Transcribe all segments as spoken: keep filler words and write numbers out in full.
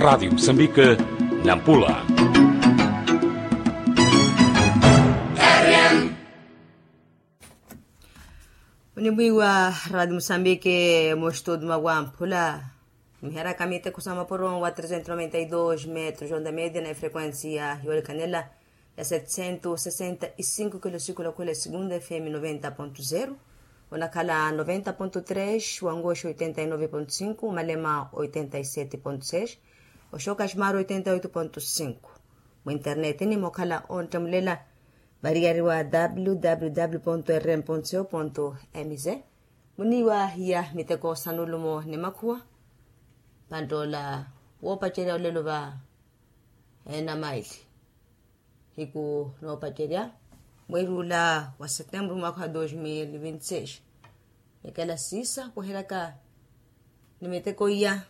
Raadio musambike, nampula. Onimwiiwa raadio musambike, mustudi mwa wamphula. Miheraka miteko sa mapuro wa trezentos noventa e dos metros onda media na efrequencia yoolikhanela ya setecentos sesenta e cinco kilo siku la khula e segunda fm noventa ponto zero, onakhala noventa ponto tres, wangoxi oitenta e nove ponto cinco, malema oitenta e sete ponto seis, oxoka ximaro oitenta e oito ponto cinco. Mu internet ni mokhala onttamulela variyari wa www rm co mz. Muniiwa hiya miteko sa nulumo ni makhuwa. Panttoola woopacerya olelo va enamaili hiku noopacerya mweeri ula wa setembro mwaka wa dos mil vinti seis. Nikela siisa kuheraka ni miteko iya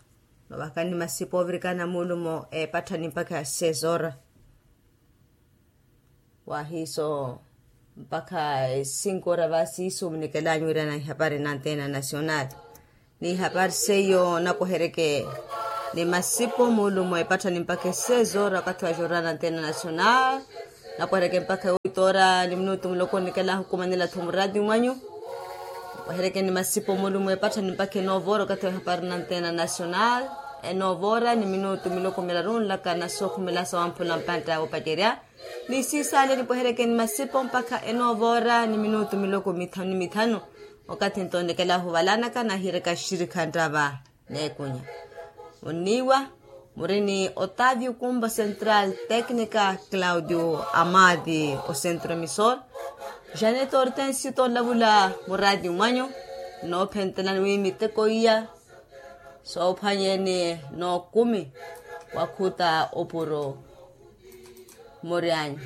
novaka ni masipa ovirikana mulumo epatthani mpakha ya seis ora. Wahiiso mpakha e cinco ora va siiso munikelanyu wirana ihapari na antena nacional. Ni ihapari seiyo nakohereke ni masipo mulumo epatthani mpakha e seis ora wakathi wa jornal na antena nacional. Nakohereke mpakha e oito ora ni minutu muloko nikelanhu khumanela-tho muraati mwanyu. Nakohereke ni masipo mulumo epatthani mpakha e nove ora wakathi wa ihapari na antena nacional. E nove ora ni minutu miloko miraru nlaka na sookhumela sa wamphula mpantta woopacerya. Ni siisaale nipweherekeni masipo mpakha enoova ora ni minutu miloko mithanu ni mithanu. Okathi ntonekela ohuvalanaka nahiiraka xirikha nttava n'ekunya. Onniiwa muri ni otavio kumba central, teknika claudio amadi, ocentro emisor janet hortensio tonlavula muraati mwanyu. Noophentelani wi miteko iya soophwanyeni nookumi wakhuta opuro. Muryanyu